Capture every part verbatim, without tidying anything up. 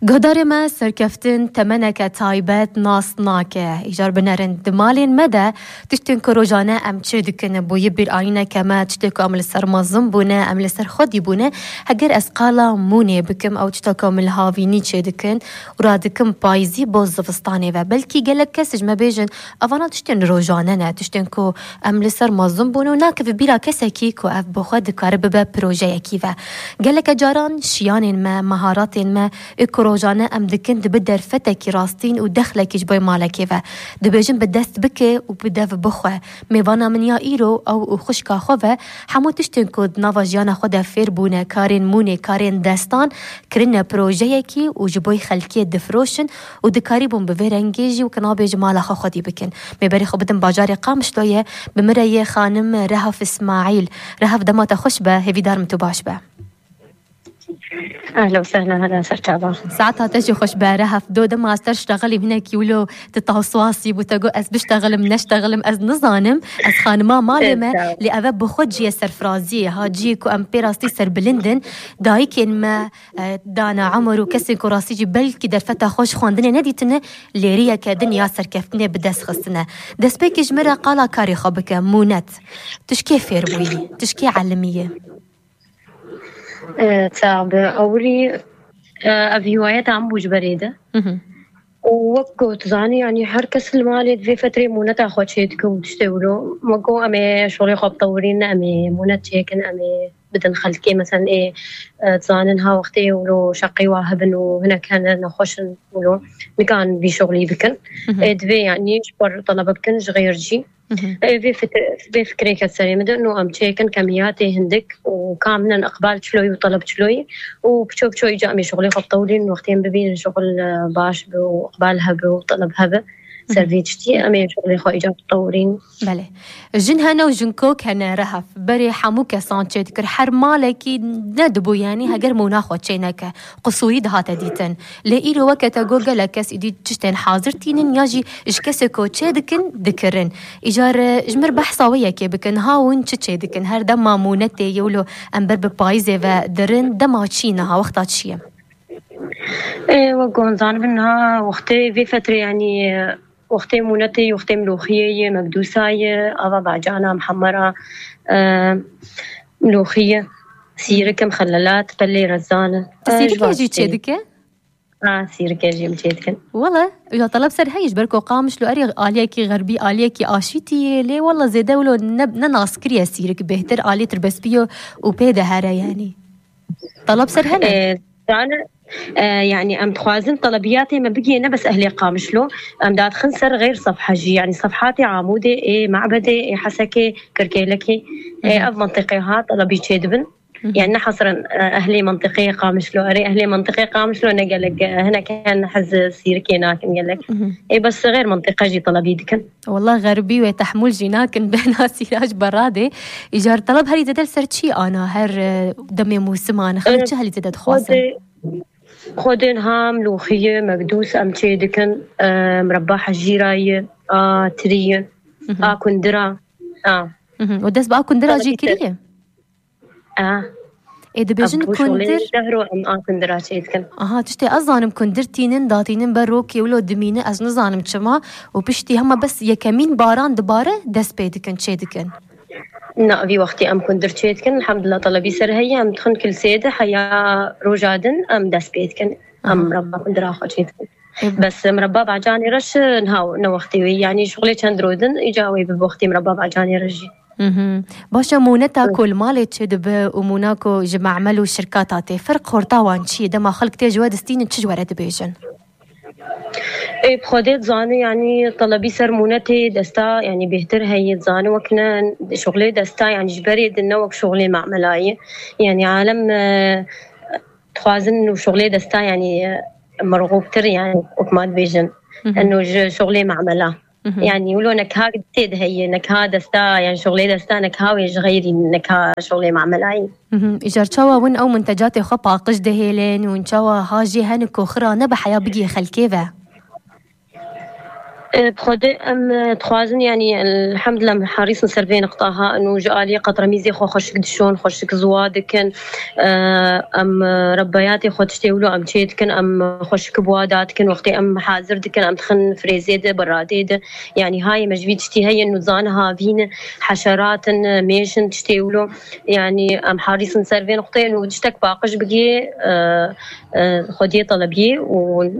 Guhdarê me, serkeftin temeneke taybet nas nake. Îcar binerin di malên me de tiştên ku rojane em çê dikin, bûyî bîranîneke me, tiştê ku em li ser mezin bûne, em li ser xwedî bûne. Heger ez qala mûnê bikim, ew tişta ku em li havînî çê dikin û radikim payîzî bo zivistanê ve. Belkî gelek kes ji me bêjin, evana tiştên rojane ne, tiştên ku em li ser mezin bûne û nakeve bîra kesekî ku ev bi xwe dikare bibe projeyekî ve. Geleke caran şiyanên me, meharatên me, ê ku rojane em dikin, dibe derfetekî rastîn û dexlekî ji bo malekê ve. Dibêjin bi dest bike û bi dev bixwe. Mêvana min ya îro, ew û xwişka xwe ve, hemû tiştên ku di nava jiyana xwe de fêr bûne, karên mûnê, karên destan, kirine projeyekî û ji bo xelkê difiroşin û dikarîbûn bi vê rengê jî weke nabêje mala xwe xwedî bikin. Mêberê xwe bidim bajarê Qamişloyê, bi min re yê xanim Rehaf Îsmaîl. Rehaf, dema te xweş be, hêvîdar im tu baş be. Ehla û sehla, hela ser çava. Saeta te jî xweş be, Rehaf. Do dema ez te ştexilî hinekî wilo tu tawswasî bû, te got, "Ez biştexilim, neştexilim, ez nizanim, ez xanima malê me." Evet, sağ ol. Lê eve bi xwe cihê serfiraziyê ha, cihê ku em pê rastî serbilind in. Dayikên me, e, dana emir û kesên ku rastî jî belkî derfeta xwe ji xwendinê nedîtine, lêriyeke din ya serkeftinê bi dest xistine. Destpêkê ji min re qala karê xwe bike, mûnet. Tu ji kê fêr bûyî? Tu ji kê elimiyî? E, tabi, ewilî, e, ev hiwayeta em bû ji berê de. Mhm. Û wek ku tu zanî, yanî her kes li malê di vê fetrê mûneta xwe çê dike û tiştê wilo. Me got, em ê şolê xwe bitewirîn, em ê mûnet çêkin, em ê bidin xelkê, mesela ê, e, dizanin ha wextê wilo şeqî wa hebin û hinek hene nexweş in wilo, nikan vî şolî bikin. Mhm. Ê, divê yanî ji xwe re telebe bikin ji xêr jî. Mhm. Ê, vê fikir-, vê fikirê ke serê min de, no em çêkin kemiyatê hindik û ka min in iqbal çiloyî û teleb çiloyî û piço piço îca em ê şolê xwe bitewirîn, wextê em bibînin şol, e, baş bi û iqbal hebe û teleb hebe. Ser vê tiştî em ê şixulê xwe îcar bitewirîn. Belê. Jin hene û jinkok hene, Rehaf. Berê hemû kesan çê dikir. Her malekî nedibû, yanî heger mûna xwe çê neke, qisûrî dihate dîtin. Lê îro weke te got, gelek kes îdî tiştên hazir tînin ya jî ji kesê ku çê dikin, dikirin. Îcar, e, ji mir behsa wê yekê bikin. Ha hûn çi çê dikin? Her dema mûnetê ye wilo em ber bi payîzê ve dirin, dema çi niha, wexta çi ye? Ê, wek ku hûn zanibin, niha wextê vê fetrê, yanî, wextê mûnetê, wextê milûxiyê ye, mekdûsa ye, ava bacana, mihemera, e, milûxiye, sîrike, mixelelat, pelê rezan e. Tu sîrike jî çê dike? Ha, sîrike jî em çê dikin. Wele, ya teleb ser heyî, ji ber ku Qamişlo erê aliyekî xerbî, aliyekî aşîtî ye, lê wele zêde wilo ne, ne naskirî ye sîrik, bêhtir aliyê tirbespî yo û pê de here, yanî. Teleb ser hene? E, zane, e, yanî em dixwazin telebiyatê me bigihê ne bes ehlê Qamişlo, em dadixin ser xeyr sefha jî, yanî sefhatê Amûdê, ê Mabedê, ê Hesekê, Kirkêlekê, ê ev mentiqê ha telebî çê dibin. Yanî ne hesren, e, ehlê mentiqê Qamişlo, erê ehlê mentiqê Qamişlo ne gelek, e, hinek hen hez sîrikê nakin gelek. Ê bes xeyr mentiqe jî telebî dikin. Wela xerbî wê tehmûl jî nakin, bena sîrac beradê. Îcar teleb herî zêde li ser çi ana her, e, demê mûsiman? Xelk çi herî zêde dixwazin? Xwedê, xwedê niha milûxiye, mekdûs em çê dikin, e, mirebba hejîra ye, a tirî ye, a kundira, a. Mhm. Û dest bi a kundira jî kiriye? A. Ê, dibêjin kundir. Dehro em a kundira çê dikin. Aha, tiştê ez zanim kundir tînin, datînin ber rokê wilo dimîne, ez nizanim çima. Û piştî hema bes yekemîn baran dibare, dest pê dikin, çê dikin. Na, vî wextî em kundir çê dikin, elhamdulillah, telebî ser heye, em dixin kilsê de heya roja din, em dest pê dikin. Aha. Em mirebba kundira xwe çê dikin. Bes mirebba bacanê re şi niha ne wextê wê. Yanî şixulê çend roj din, îca wê bi wextê mirebba bacanê re jî. Mhm. Baş e, mûneta ku li malê çê dibe û mûna ku ji memel û şirkata tê, ferq xorta wan çi ye? Dema xelk tê ji we distînin, çi ji we re dibêjin? Ê, bi Xwedê dizane, yanî telebî ser mûnetê desta, yanî bêhtir heye, dizane wek ne şixulê desta, yanî ji berê din ne wek şixulê memelayê. Yanî alem, e, dixwazin û şixulê desta, yanî, e, merxûbtir, yanî wek ma dibêjin. Mhm. Eno ji şixulê memela. Mhm. Yanî wilo nekha tê de heye, nekha desta, yanî şixulê desta, nekha wê ji xeyrî, nekha şixulê memelayî. Mhm. Îcar çawa win ew muntecatê xwe paqij dihêlin û çawa ha jê hene ku xira nebe heya bigihê xelkê ve? E, bi Xwedê em, e, dixwazin, yanî, elhemdulillah, em herîsin ser vê niqta ha, û ji aliyê qetremîzê xwe xweşik dişon, xweşik ziwa dikin. E, em, e, rebeyatê xwe tiştê wilo em çê dikin, em xweşik bi wa da dikin, wextê em hazir dikin, em dixin frêzê de, beradê de. Yanî hayê me ji vî tiştî heye, nûzan havîn, heşerat in, mêş in, tiştê wilo. Yanî em herîsin ser vê niqteyê, û tiştek paqij bigê, e, e, xwediyê telebiyê û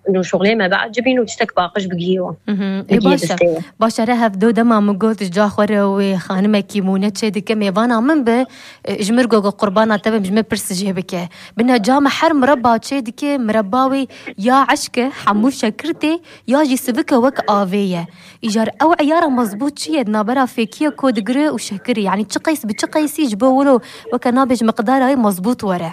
Nû şuxlê me biecibîn û tiştek paqij bigihê wan. Mhm. Ê, bigihê baş e. Destê wan. Baş e, re hevdo dema min got, ji ca xwe re wê xanimekî mûne çê dike, mêvana min bi, e, ji mir gogo qurbana te bim, ji min pirs jê bike. Bine ca me her mireba çê dike, mireba wê ya eşk e, hemû şekir tê, ya jî sivik e wek avê ye. Îcar ew eyara mezbût çi ye? Di navbera fêkiyê ku digire û şekirê. Yanî çi qeys bi çi qeysî ji bo wilo weke nabêj miqdara wê mezbût were.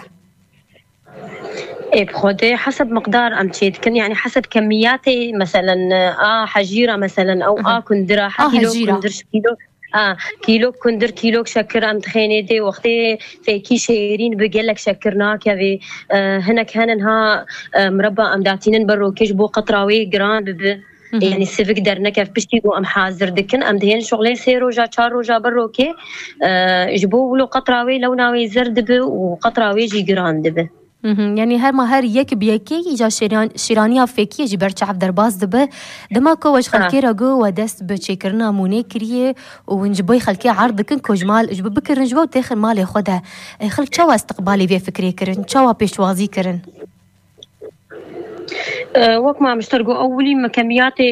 Ê, bi Xwedê heseb miqdar em çê dikin, yanî heseb kemiyatê, meselen, a hejîra, meselen, ew Aha. a kundira, A ha kîlo hejîra. Kundir, ji kîlo, a, kîlo kundir, kîlo şekir em dixênê dê, wextê fêkî şêrîn bi gelek şekir nakevê. E, hinek henin ha, e, mireba em datînin ber rokê ji bo qetra wê giran bibi. Hı hı. Yanî sivik dernekev piştî ku em hazir dikin, em dihên şuxlê sê roja, çar roja ber rokê, e, ji bo wilo qetra wê lewna wê zer dibi û qetra wê jî giran dibi. Hı hı. Yanî her ma her yek bi yekê îca şêran-, şîraniya fêkiyê jî ber çav derbas dibe. Dema ku we ji Ha. xelkê re got we dest bi çêkirina mûnê kiriye û hûn ji bo xelkê erd dikin ku ji mal ji bo bikirin ji bo têxin malê xwe de. E, xelk çawa istiqbalê vê fikrê kirin? Çawa pêşwazî kirin? E, wek ma mişter got, ewilî me kemiyatê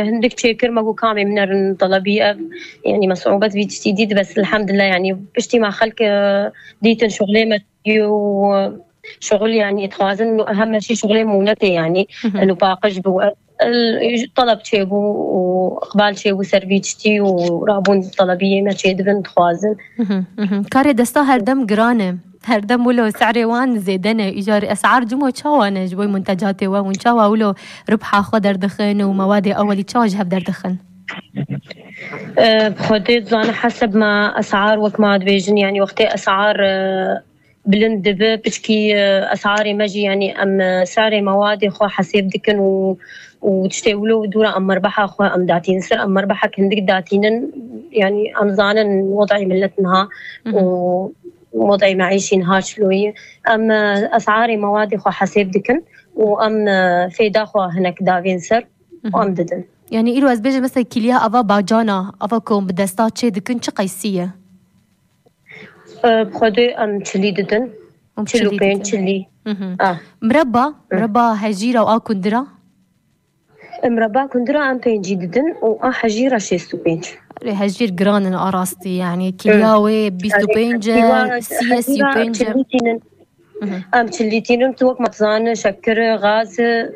hindik çêkir, me got kamê min erin telebî ev, yanî me siûbet vî tiştî dît, bes elhemdulillah, yanî piştî me xelk, e, dîtin şuxlê me û şuxul, yanî dixwazin heme şî şuxlê mûnetê, yanî Hı hı. eno paqij bû. El, teleb çêbû û iqbal çêbû ser vî tiştî û rabûn telebiyê me çêdibin, dixwazin. Hı hı, hı hı. Karê desta her dem giran e. Her dem wilo se'rê wan zêde ne. Îcar es'ar cimo çawa ne ji bo muntecatê we? Hûn çawa wilo ribha xwe derdixin û mewadê ewelî çawa ji hev derdixin? E, bi Xwedê dizane heseb me es'ar wek ma dibêjin, yanî wextê es'ar, e, bilind dibe, piçkî, e, es'arê me jî, yanî em, e, se'rê mewadê xwe hesêb dikin û, û tiştê wilo dûra em merbeha xwe em datînin ser, em merbehek hindik datînin, yanî em zanin wez'ê millet niha Hı hı. û wez'ê meîşî niha çilo ye. Em, e, es'arê mewadê xwe hesêb dikin û em, e, fêda xwe hinek davên ser Hı hı. û em didin. Yanî îro ez bêjim mesela kîliya ava bacana, ava ku bi desta çê dikin çi qeysî ye? E, bi Xwedê em çilî didin. Em Çil û çilî pênc, didin. Çilî. Hı hı. Ah. Mireba, Hı. mireba hejîra û a kundira? E, mireba kundira em pêncî didin û a hejîra şêst û pênc. Erê, hejîr giran in a rastî, yanî Hı. kîliya wê bîst û pênc e, Yanî, sî ye, hejîra sî û pênc e. Çilî tînin. Hı hı. Em çilî tînin, tu wek me dizane, şekir, gaz, e,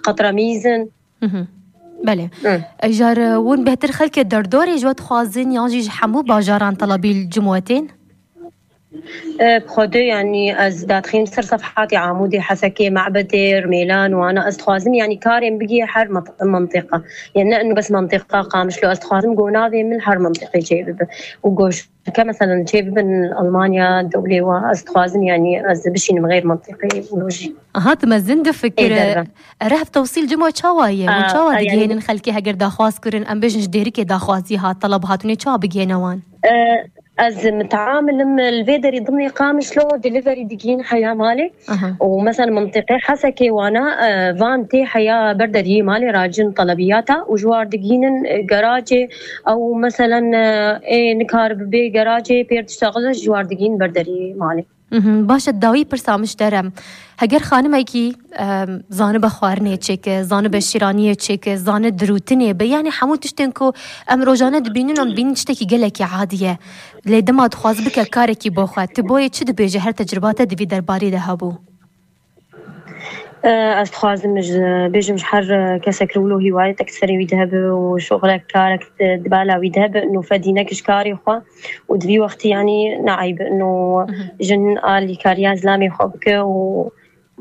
qetramîz in. Hı hı. Belê. Hı. Îcar, e, hûn bêhtir xelkê derdorê ji we dixwazin yan jî ji hemû bajaran telebî li cim we tên? E, bi Xwedê, yanî ez dadixînim ser sefhatê Amûdê, Hesekê, Mebedê, Rmêlan, wana ez dixwazim, yanî karên bigihê her ment-, mentiqa. Yanî ne inu bes mentiqa Qamişlo, ez dixwazim ku navê min her mentiqê çê bibe. Û goş Ke meselen çê bibin Almanya, dewlê wa, ez dixwazim, yanî ez bişînim xêr mentiqê û jî. Aha, tu mezin difikire. Ê, derve. Ereh tewsîl cimo çawa ye? Hûn A, çawa a, yanî digihênin xelkê heger daxwaz kirin, em bêjin ji Dêrikê daxwazî hat, teleb hat, hûn ê çawa bigihêne wan? E, ez miteamilim li vê derî dimnê Qamişlo delivery digihîn heya malê. Aha. Û mesela mintîqê Hesekê wana, e, van tê heya ber deriyê malê racin telebiyata û ji war digînin, e, garajê ew meselen, e, ê nikaribe bê garajê pêr diştexile ji war digîn ber deriyê malê. Mhm, baş e, dawî pirsa min ji te re. Heger xanimekî, e, zanibe xwarinê çêke, zanibe şîraniyê çêke, zane dirûtinê be, yanî hemû tiştên ku em rojane dibînin, em dibînin tiştekî gelekî adî ye. Lê dema dixwaze bike karekî bo xwe, tu boyê çi dibêje, her tecrüba te di vî derbarî de hebû? E, ez dixwazim ji, bêjim ji her, e, kesek li wilo hîwayetek serê wî de hebe û şoxlek karek di, di bala wî de hebe, nû fedînek ji karê xwe û di vî wextî yanî neeyb û Mhm. jin alîkariya zilamê xwe bike û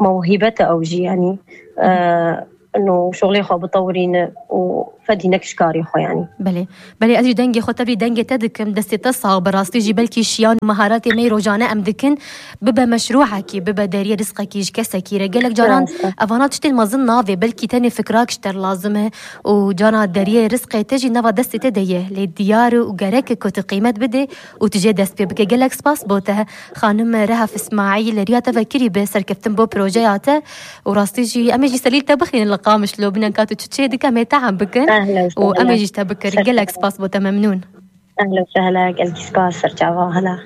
mewhîbet e ew jî yanî. E, Mhm. انه شغلي خو بطورين وفدي نكش كاري خو يعني. Belê, belê, ez jî dengê xwe tevî dengê te dikim, destê te sax bi rastî jî belkî şiyan û meharetê me yê rojane em dikin bibe meşrûekî, bibe deriyê rizqekî ji kesekî re. Gelek caran evana tiştên mezin navê, belkî tenê fikrak ji te lazim e û cana deriyê rizqê te jî nava destê te de ye. Lê diyar e û gerek e ku tu qîmet bidê û tu jê dest pê bike. Gelek spas bo te, xanim Rehaf Îsmaîl, riya te vekirî bi serkeftin bo projeya te û rastî jî em ê jî selîl te bixînin li Qamişlo, bînin ka tu çi çê dike em ê tehem bikin Ehlen û em ê sehlen. jî ji te bikirin. Gelek spas bo te, memnûn. Ehlen sehlen, gelkî spas, serçava, hela.